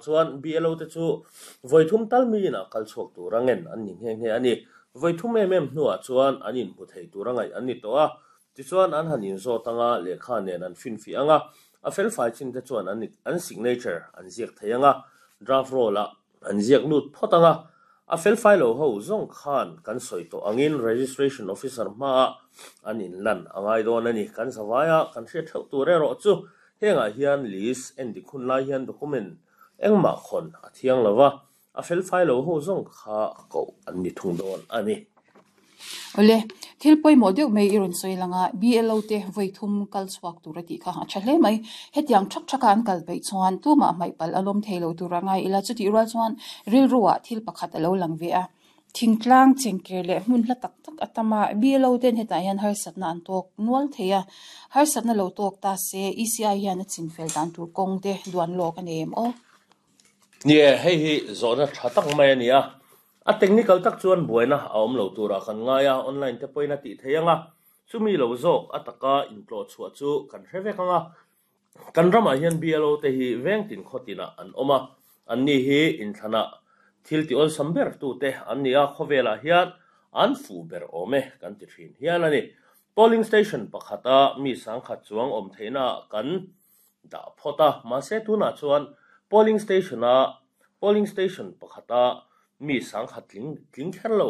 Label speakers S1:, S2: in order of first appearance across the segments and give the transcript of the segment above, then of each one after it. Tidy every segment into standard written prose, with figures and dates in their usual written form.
S1: chuan BLO te chu vawi thum tal mi inah kal chhuak tura ngen an ni nghe nghe a ni. Vawi thum em em hnuah chuan an inhmu thei tura ngaih an ni tawh a. Tichuan an han inzawt anga lehkha nen an finfiah anga, a felfai chin te chuan an an signature an ziak thei anga, draft roll ah An ziak lut phawt ang a, a felfai lo ho zawng khan kan sawi tawh angin Registration Officer hmaah an inlan a ngai dawn a ni. Kan zavaia kan hriat theuh tur erawh chu hengah hian list en dik hun lai hian document engmah khawn a thiang lo va, a felfai lo ho zawng kha koh an ni thung dawn a ni.
S2: Awle, thil pawimawh deuh mai i rawn sawi lang a, BLO te vawi thum kal chhuak tur a tih kha a tha hle mai. Hetiang thak thaka an kal peih chuan tumah hmaih palh a lawm thei lo tur a ngai ila, chutih rual chuan rilru ah thil pakhat a lo lang ve a. Thingtlang chengker leh hmun hla tak tak a tam a, BLO ten hetah hian harsatna an tawk nual thei a, harsatna lo tawk ta se ECI hian a chinfel dan tur kawng te duan lawk a nei em aw?
S1: Nie, hei hi zawhna tha tak mai a ni a, A technical tak chuan buaina a awm lo turah kan ngai a, online te pawhin a tih theih ang a, chumi lo zawk a taka intlawh chhuah chu kan hre vek ang a. Kan ramah hian BLO te hi veng tin khaw tinah an awm a, anni hi inthlanah thil ti awlsam ber tute an ni a, khawvelah hian an fuh ber awm e kan ti thin hial a ni. Polling station pakhata mi sangkhat chuang awm theihnaah kan dah phawt a, mahse tunah chuan polling station-a polling station pakhata mi sangkhat tling tling kher lo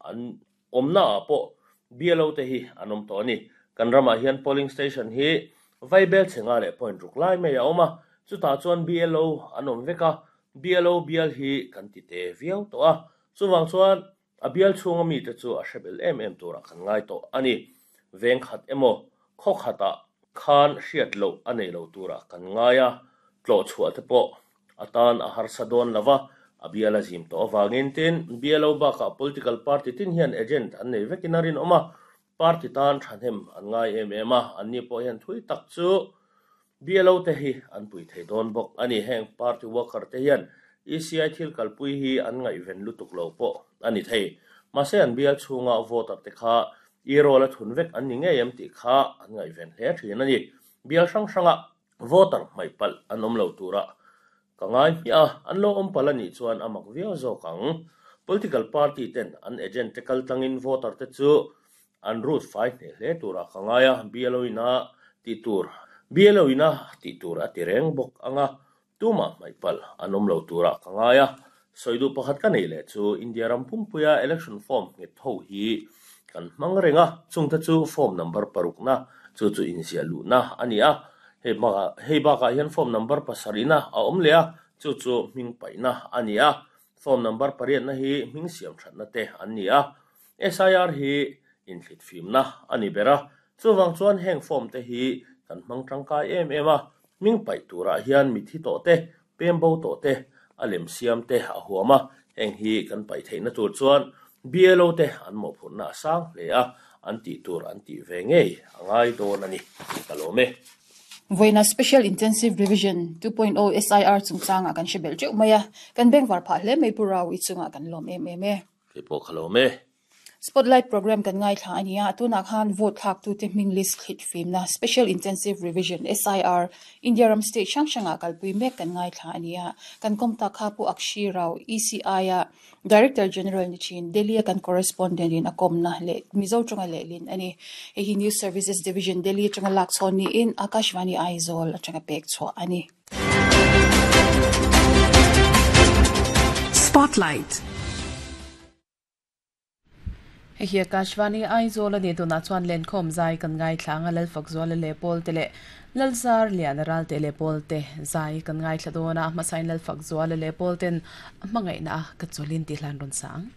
S1: an awmnaah pawh BLO te hi an awm tawh a ni. Kan ramah hian polling station hi Vaibel chhenga leh point ruk lai mai a awm a, chutah chuan BLO an awm vek a, BLO bial hi kan ti te viau tawh a, chuvang chuan A bial chhunga mite chu a hre bel em em turah kan ngai tawh a ni. Veng khat emaw, khaw khatah khan hriat loh a nei lo turah kan ngai a, tlawh chhuah te pawh a tan a harsa dawn lo va, a bial a zim tawh avangin tin, BLO bakah political party tin hian agent an nei vekin a rinawm a, Party tan thahnem an ngai em em a, anni pawh hian thui tak chu BLO te hi an pui thei dawn bawk a ni. Heng party worker te hian ECI thil kalpui hi an ngaihven lutuk lo pawh a ni thei. Mahse an bial chhunga voter te kha e-roll a thun vek an ni ngei em tih kha an ngaihven hle thin a ni. Bial hrang hranga voter hmaih palh an awm lo turah Ka ngai hmiah a, an lo awm palh a nih chuan a mak viau zawk ang. Political party ten an agent te kal tlangin voter te chu an root fai hneh hle turah ka ngai a, BLO in a tih tur BLO in a tih tur a ti reng bawk ang a, tumah hmaih palh an awm lo turah ka ngai a. Sawi duh pakhat ka neih leh chu India ram pumpuia election form nghet ho hi kan hmang reng a, chungte chu form number parukna chu chu inziah luhna a ni a, Hei bakah hei bakah hian form number pasarihna a awm leh a, chu chu hming paihna a ni a. Form number pariatna hi hming siam thatna te an ni a. SIR hi inthlit fimna a ni ber a, chuvang chuan heng form te hi kan hmang tangkai em em a. Hming paih turah hian mithi tawh te, pem bo tawh te, a lem siam te a huam a, heng hi kan paih theihna tur chuan BLO te an mawhphurhna a sang hle a, an tih tur an tih ve ngei a ngai dawn a ni, ka lawm e.
S2: Vawiina Special Intensive Revision 2.0 SIR chungchangah kan hre belh teuh mai a, kan bengvar phah hle mai Pu Rau i chungah kan lawm em em e.
S1: Kei pawh ka lawm e.
S2: Spotlight Programme kan ngaithla a ni a, tunah khan vote thlaktute hming list thlit fimna Special Intensive Revision, SIR, India ram state hrang hrangah kalpui mek kan ngaithla a ni a, kan kawm tak kha Pu Akshi Rao, ECI-a Director General ni thin, Delhi-a kan correspondent in a kawmna leh Mizo tawnga lehlin a ni. Hei hi News Services Division, Delhi atanga lak chhawn niin Akashvani Aizawl atanga pek chhuah a ni.
S3: Spotlight.
S4: Hei hi Akashvani Aizawl a ni tunah chuan lenkhawm zai kan ngaithla ang a Lalfakzuala leh Pawlte leh Lalzar Liana Ralte leh Pawlte zai kan ngaithla dawn a, hmasain Lalfakzuala leh Pawlten a hmangaihna a ka chawlin tih hlan rawn sa ang.